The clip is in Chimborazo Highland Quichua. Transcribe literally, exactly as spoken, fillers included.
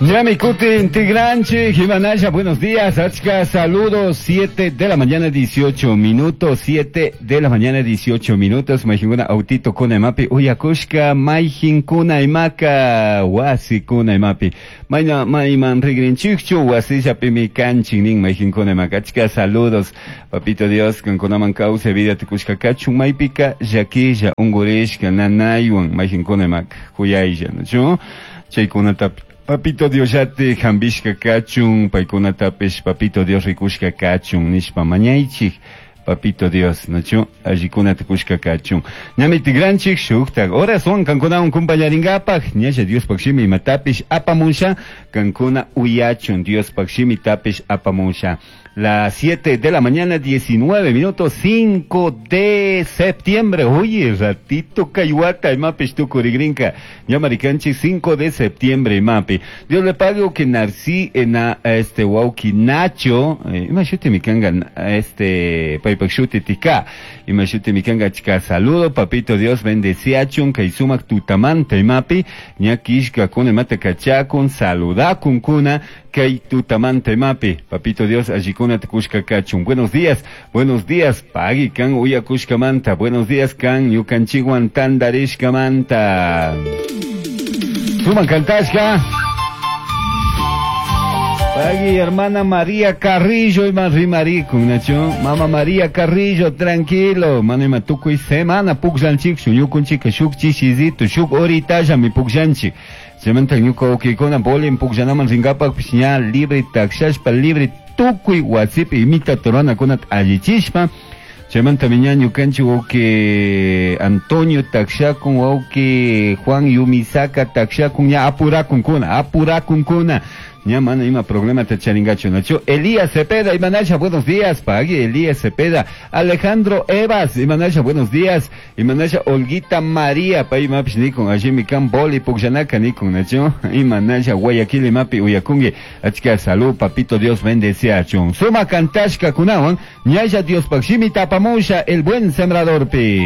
Ñami kutin tigranchik, Jimanaya, buenos días, achka, saludos, siete de la mañana, dieciocho minutos, siete de la mañana, dieciocho minutos, maijinguna autito kuna imapi, uyakushka, maijin kuna imaka, wasi kuna imapi, mayna mayman rigrinchikchu, wasillapimi kanchin nin maijin kuna imaka, achka saludos, papito Dios, kankunaman kawsay vida tukushka kachun, maypika llakilla, ungurishka, nanaywan, maijin kuna imaka, kuyaylla, ¿no? Chaykunata Papito Dios yate hambishka kachun, paykunatapish Papito Dios rikushka kachun, nishpa mañaychik, Papito Dios, nachu, allikunata kushka kachun. Ñami tigranchik shuktak, horas wan kankunawan kumpañarinkapak, ñalla Diospaj shimi imatapish apamusha, kankuna uyachun, Diospaj shimitapish apamusha. Las siete de la mañana, diecinueve minutos, cinco de septiembre. Oye, ratito kay wata, imapish tukurigrinka. Ñamarikanchi, cinco de septiembre, imapi. Dios le pague que Narcí en este wauki Nacho, eh, imashuti mikanga, este, paypak shuti tika. Imashuti mikanga achka saludo, papito Dios bendeciachun, kay sumak tutamanta imapi, ñakishka kuna imata kachakun, saludakun kuna, kay tutamanta imapi. Papito Dios, allikuna tukushka kachun. Buenos días, buenos días, pagui kan uyakushka manta. Buenos días kan ñukanchikwan tandarishka manta. Suman kantashka. Pagui, hermana María Carrillo, ima rimarikun, nacho. Mama María Carrillo, tranquilo. Mana ima tukuy semana pukllanchik, ñukunchika shuk chishizitu, shuk horitalla mi pukllanchik. Chaymanta ñuka wawkikuna bolin pukllanaman rinkapakpish ña libre takshashpa, libre tukuy wasipi imita ruranakunata allichishpa. Chaymanta ña ñukanchik wawki Antonio takshakun, wawki Juan Yumisaka takshakun, ña apurakunkuna, apurakunkuna. Ña mana ima problema ta charingachu, nachu. Elías Cepeda, Imanasha, buenos días, pagui, Elías Cepeda. Alejandro Evas, Imanasha, buenos días. Imanasha, Olguita María, pay imapish nikun, allimi kan boli pukllanaka nikun, nachu. Imanasha, Guayaquil imapi uyakungi. Achka salud, papito Dios bendeciachun. Suma kantashka kunawan, ñalla Diospaj shimita apamusha, el buen sembrador pi.